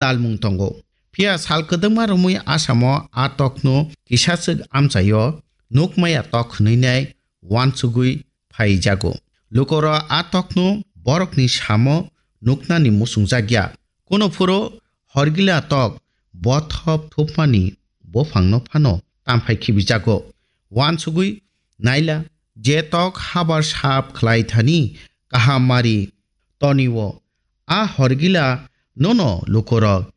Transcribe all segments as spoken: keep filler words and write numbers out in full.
talmung tongo. Phiya sal kwdwkma romwi Asamo a tokno kisaswk amchaio nukmaya tok hwnwi nai uansugwi phaijago. Lukorok a tokno borokni samo nuknani muchungjakya. Kuno phuru horgila tok bothop thupmani buphangno phano tamphai khibijago. Uansugwi naila, je tok habar sap khlai thani kaham mari tonio, a horgila nono lukorok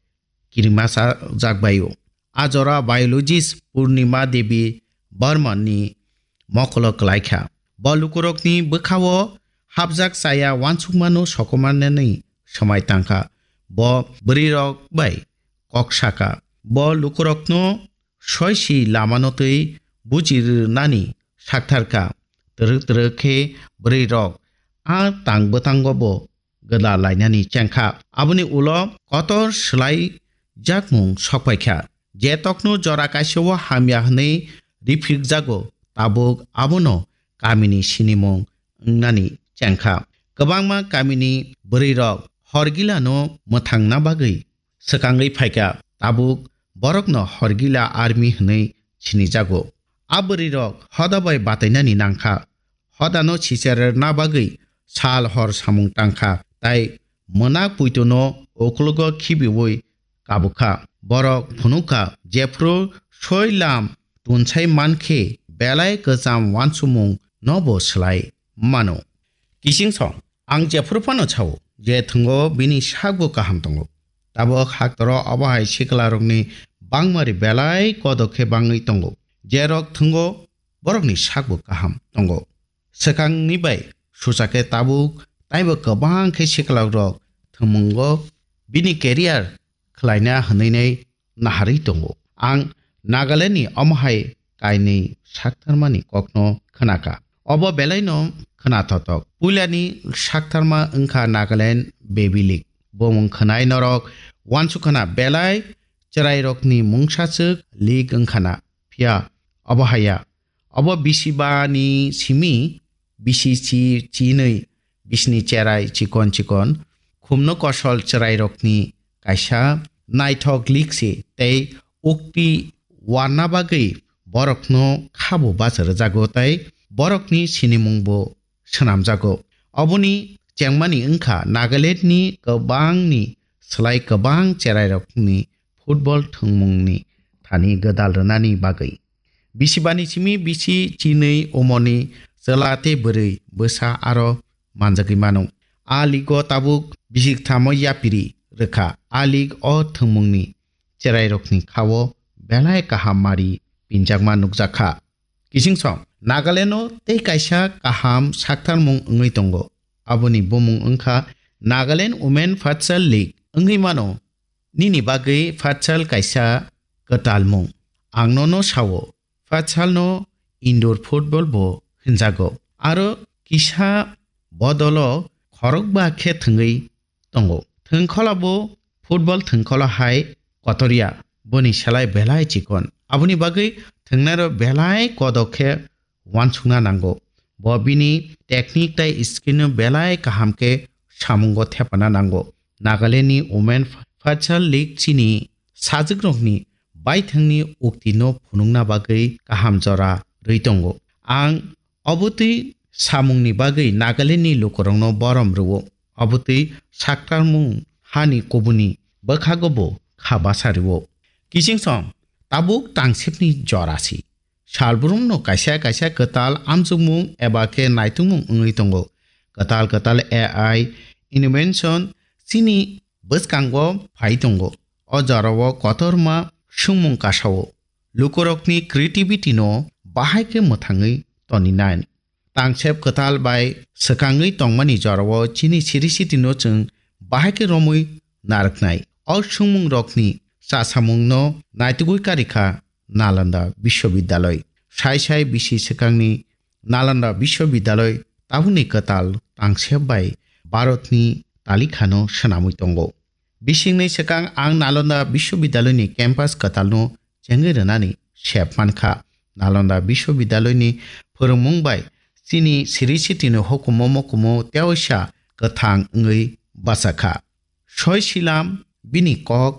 kirima sa-, jakbaio. A jora biologist Purnima Devi Barman ni mokolo klaikha. Bo lukurokni bwkhao hapjak chaya uansukmano sokomanani swmai tangkha. Bo bwrwirok bai kok saka. Bo lukurokno soisi lamano twi buji rwnani saktharkha. Twrwk twrwk khe bwrwirok a tang bwtango bo gwda lainani chengkha. Aboni ulo kotor swlai jakmung sokpaikha. Je tokno jora kaisao hamya hwnwi riphikjago, tabuk abono kamini sinimung wngnani chengkha. Kwbangma kamini bwrwirok horgilano mwthangna bagwi swkangwi phaikha, tabuk borokno horgila army hwnwi sinijago. A bwrwirok hoda bai batainani nangkha. Hodano sicherna bagwi sal hor samung tangkha, tai mwnak puitono uklogo khibiwi kabukha. Borok phunukha, jephru soi lam tunsai mankhe belai kwcham uansukmung nobo swlai mano. Kising song, ang jephru phano sao, je thwngo bini sakbo kaham tongo. Tabuk haktoro obo hai siklarokni bangmari belai kodok khe bangwi tongo. Jerok thwngo borokni sakbo kaham tongo. Swkangni bai sucha khe tabuk taibo kwbang khe siklarok thwngmungo bini career khlaina hwnwi nai naharwi tongo. Ang Nagalandni omo hai kainwi saktharmani kokno khnakha. Obo belaino khnathothok. Puilani saktharma wngkha Nagaland Baby League. Bumung khwnai norok uansukha na belai chwrairokni mungsaswk league wngkha na. Phiya obo haya. Obo bisi bani simi bisi chi chinwi bisini cherai chikon chikon khumno kosol chwrairokni kaisa naithok league se tei ukti warna bagwi borokno khabo bacha rwjago tei borokni sinimungbo swnamjago. Oboni chengmani wngkha Nagalandni kwbangni slai kwbang cherairokni football thwngmungni thani gwdal rwnani bagwi. Bisibani simi bisi chinwi umorni chwla tei bwrwi bwsa aro manjagwi mano. A league-o tabuk bisik thamo yapiri rwkha. A league-o thwngmungni cherairokni kha-o belai kaham mari pinjakma nukjakha. Kising song, Nagaland-o tei kaisa kaham saktharmung wngwi tongo. Aboni bumung wngkha Nagaland Women Futsal League wngwi mano. Nini bagwi futsal kaisa kwtal mung. Ang nono sao, futsal no indoor football bo hinjago. Aro kisa bodolo khorokba khe thwngwi tongo. Thwngkhola bo football thwngkhola hai kotorya, boni selai belai chikon. Aboni bagwi thwngnairok belai kodok khe uansukna nango. Bo bini technique tei skill no belai kaham khe samungo thepana nango. Nagaland ni Women Futsal League chini sajwkrokni baithangni uktino phunukna bagwi kaham jora rwi tongo. Ang obotwi samungni bagwi Nagaland ni lukurokno borom rwo. Obotwi saktarmung hani kubuni bwkhago bo kha basa rwo. Kising song tabuk tangsepni jora si. Salbrumno kaisa kaisa kwtal amjokmung eba khe naitungmung wngwi tongo. Kwtal kwtal A I invention chini bwskango phai tongo. O jorao kotorma swngmung kasao. Lukurokni creativity no bahai khe mwthangwi toninai. Tangsep kwtal bai swkangwi tongmani jorao chini siri sitino chwng bahai khe romwi narwknai. O swngmungrokni chasamungno naitugwi karikha Nalanda Biswabidyaloi. Sai sai bisi swkangni Nalanda Biswabidyaloi tabukni kwtal tangsep bai Bharatni talikhano swnamwi tongo. Bisingni swkang ang Nalanda Biswabidyaloini campus kwtalno chengwi rwnani sep mankha. Nalanda Biswabidyaloini phwrwngmung bai chini siri sitini hukumu mukumu teoisa kwthang wngwi bachakha. Soi silam bini kok